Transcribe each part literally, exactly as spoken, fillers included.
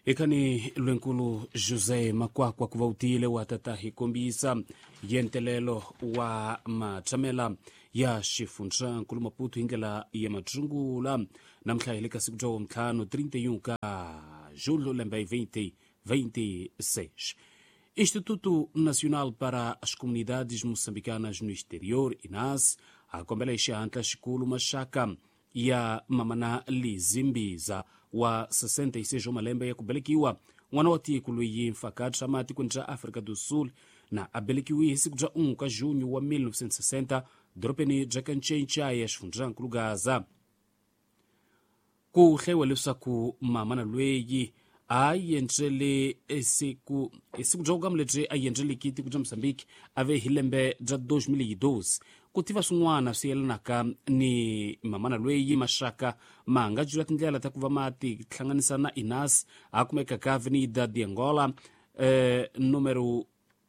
Ekhani lwenkulu José Makwakwa ku va u tiyile wa tata hi kombisa yentelelo wa matshamela ya xifundzankulu Maputo hi ndlela ya matsungula namuntlha hi le ka siku bya ntlhanu trinta e um ka julho lembe vinte vinte e seis. Instituto Nacional para as Comunidades Moçambicanas no Exterior, INAS, a kombela hi xihatla xikulu maxaka ya mamana Lizimbiza wa sessenta e seis wa malembe ya ku velekiwa, n'wana wa tiko loyi mfaka tshama etikweni ra Afrika do Sul na a velekiwe hi siku bya un'we ka junho wa mil novecentos e sessenta dorobeni bya Kanchencha ya xifundzankulu Gaza. Ku hlayiwa leswaku mamana loyi a yendzele siku siku bya vukamu lebyi a yendzeleki tiko bya Mozambique a ve hi lembe bya dois mil e doze. Ku tiva swin'wana swi yelanaka ni mamana loyi maxaka ma nga jula tindlela ta ku va ma ti hlanganisa na INAS a kumeka ka Avenida de Angola eh, número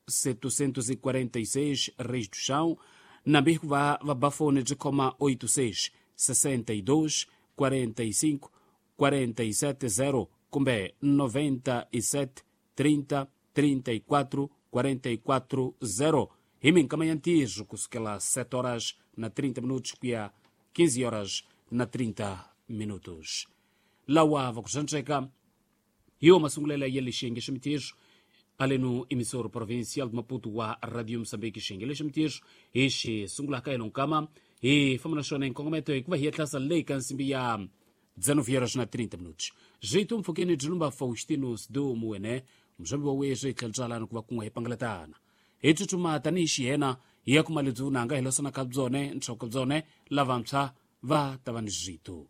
setecentos e quarenta e seis Reis do Chão, nambi ku va va ba fone byi khoma oito seis sessenta e dois quarenta e cinco quarenta e sete zero kumbe noventa e sete trinta trinta e quatro quarenta e quatro zero. Hi minkama ya ntirho kusukela sete horas na trinta minutos ku ya quinze horas na trinta minutos. Lawa va ku xantsweka hi wo masungulela ya lexiyenge xa mintirho aleno emissora provincial de Maputo wa Radio Moçambique. Xiyenge lexi mintirho hi xi sungulaka hi lonkama hi famba na xona hi nkongometo hikuva hi etlasa leyi ka nsimbi ya dezenove horas na trinta minutos. Jeito mpfhukeni byi lumba Faustino Sidumu wene muzambi wa weswi hi tlhela byalani ku va kun'we hi pangalatana hi tsutsuma tanihi xiyena hi ya kuma lebyi vunanga hi losana ka byone nhloko byone lavantshwa va ta va ni zwito.